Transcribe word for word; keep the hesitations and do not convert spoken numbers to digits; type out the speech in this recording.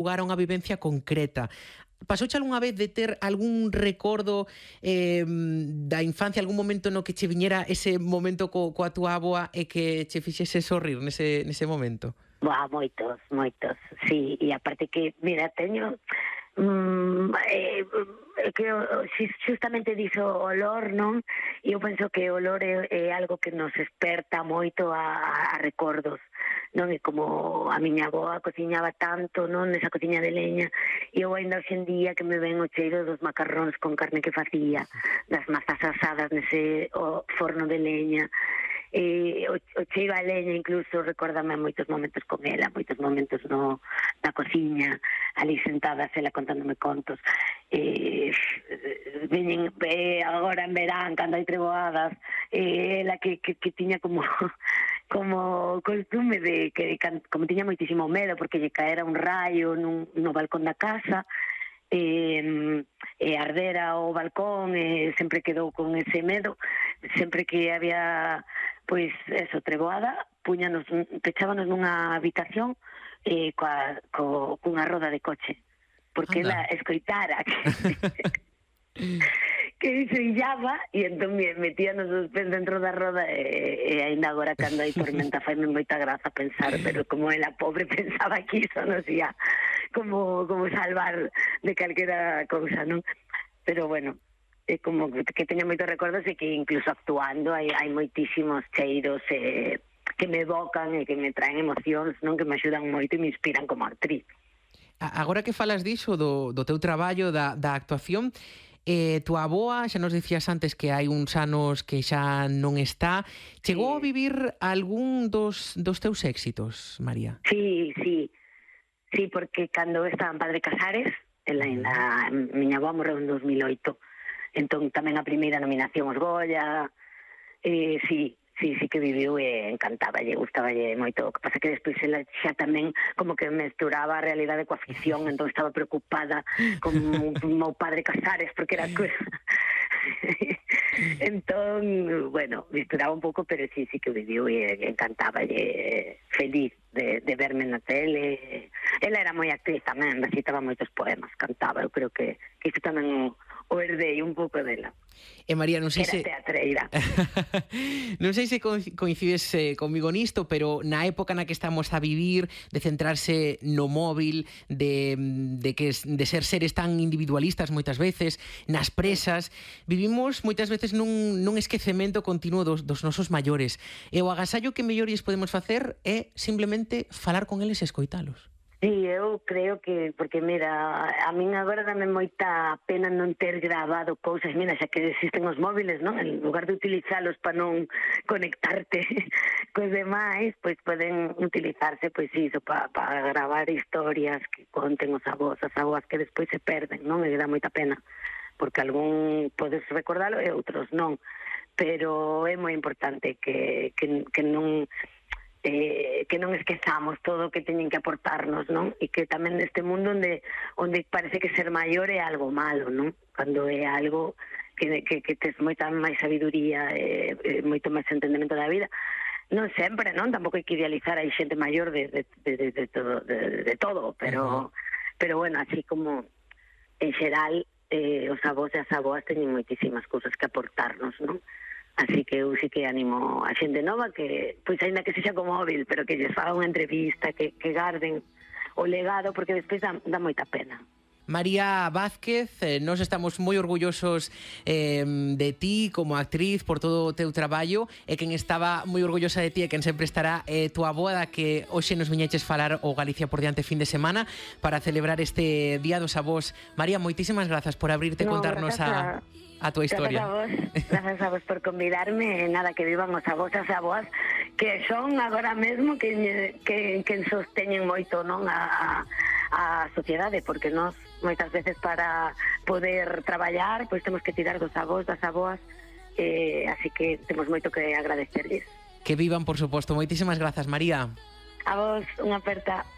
lugar a unha vivencia concreta. Pasouche algunha vez de ter algún recordo eh, da infancia, algún momento no que che viñera ese momento co, coa túa avoa e que che fixese sorrir nese, nese momento? Boa, moitos, moitos, sí, e aparte que, mira, teño... Mm, eh, que justamente dixo olor, non? E eu penso que o olor é, é algo que nos esperta moito a, a recordos, non? E como a miña avoa cociñaba tanto, non? Nesa cociña de leña, e eu ainda hoxe en día que me ven o cheiro dos macarróns con carne que facía, das mazas asadas nese o forno de leña, e o, o cheiro a leña incluso recórdame moitos momentos con ela, moitos momentos no, na cociña, ali sentadas ela contándome contos. E veñen eh, agora en verán cando hai treboadas, e ela que, que, que tiña como como costume de que como tiña moitísimo medo porque lle caera un raio nun, no balcón da casa, e, e ardera o balcón, e sempre quedou con ese medo. Sempre que había pois eso, treboada, puñanos, pechábanos nunha habitación eh, coa, co, cunha roda de coche, porque ela escoitara que que se illaba, e entón metíanos os pés dentro da roda, e, e ainda agora cando hai tormenta faime moita graza pensar, pero como ela pobre pensaba que iso nos ia como, como salvar de calquera cousa, non? Pero bueno, é como que teño moitos recordos e que incluso actuando hai, hai moitísimos cheiros eh, que me evocan e que me traen emocións, non? Que me axudan moito e me inspiran como actriz. Agora que falas diso, do, do teu traballo, da, da actuación, eh, tua avoa, xa nos dicías antes que hai uns anos que xa non está, chegou sí. a vivir algún dos, dos teus éxitos, María? Sí, sí, sí, porque cando estaba en Padre Casares, ela ainda, miña avoa morreu en dos mil oito, entón tamén a primeira nominación aos Goya, eh, sí, sí, sí que viviu e encantáballe, gustaballe moito. O que pasa que despois ela xa tamén como que mesturaba a realidade coa ficción, entón estaba preocupada con o meu Padre Casares, porque era coisa... entón, bueno, misturaba un pouco, pero sí, sí que viviu e encantáballe, feliz de, de verme na tele. Ela era moi actriz tamén, recitaba moitos poemas, cantaba, eu creo que, que iso tamén o o herdei un pouco dela. E María, non sei Era se... teatreira. Non sei se coincides eh, comigo nisto, pero na época na que estamos a vivir, de centrarse no móvil, de, de, que, de ser seres tan individualistas moitas veces, nas presas, vivimos moitas veces nun, nun esquecemento continuo dos, dos nosos maiores. E o agasallo que mellores podemos facer é simplemente falar con eles e escoitalos. Sí, eu creo que, porque mira, a min agora dame moita pena non ter grabado cousas, mira, xa que existen os móviles, non? En lugar de utilizalos para non conectarte cos demais, pois poden utilizarse, pois iso, para pa gravar historias que conten os avós, as avós que despois se perden, non? E dá moita pena, porque algún podes recordalo e outros non, pero é moi importante que, que, que non... Eh, que non esquezamos todo o que teñen que aportarnos, non? E que tamén neste mundo onde onde parece que ser maior é algo malo, non? Cando é algo que, que, que tes moita máis sabiduría e, e moito máis entendemento da vida. Non sempre, non? Tampouco hai que idealizar a xente maior de, de, de, de, de, todo, de, de todo, pero, uh-huh. pero bueno, así como en xeral eh, os avós e as avoas teñen moitísimas cousas que aportarnos, non? Así que eu sí que animo a xente nova que, pois ainda que sexa con móvil, pero que lles faga unha entrevista, que, que garden o legado, porque despois dá, dá moita pena. María Vázquez, eh, nos estamos moi orgullosos eh, de ti como actriz por todo o teu traballo, e quen estaba moi orgullosa de ti e quen sempre estará eh, tua avoa, da que hoxe nos viñeches falar o Galicia por diante fin de semana para celebrar este Día dos Avós. María, moitísimas grazas por abrirte e no, contarnos a... a tua historia. Grazas a vos, grazas a vos por convidarme, nada, que vivan os avós e as avoas, que son agora mesmo que, que, que sosteñen moito, non, a, a sociedade, porque nós moitas veces para poder traballar, pois temos que tirar dos avós, das avoas, eh, así que temos moito que agradecerles. Que vivan, por suposto. Moitísimas grazas, María. A vos, unha aperta.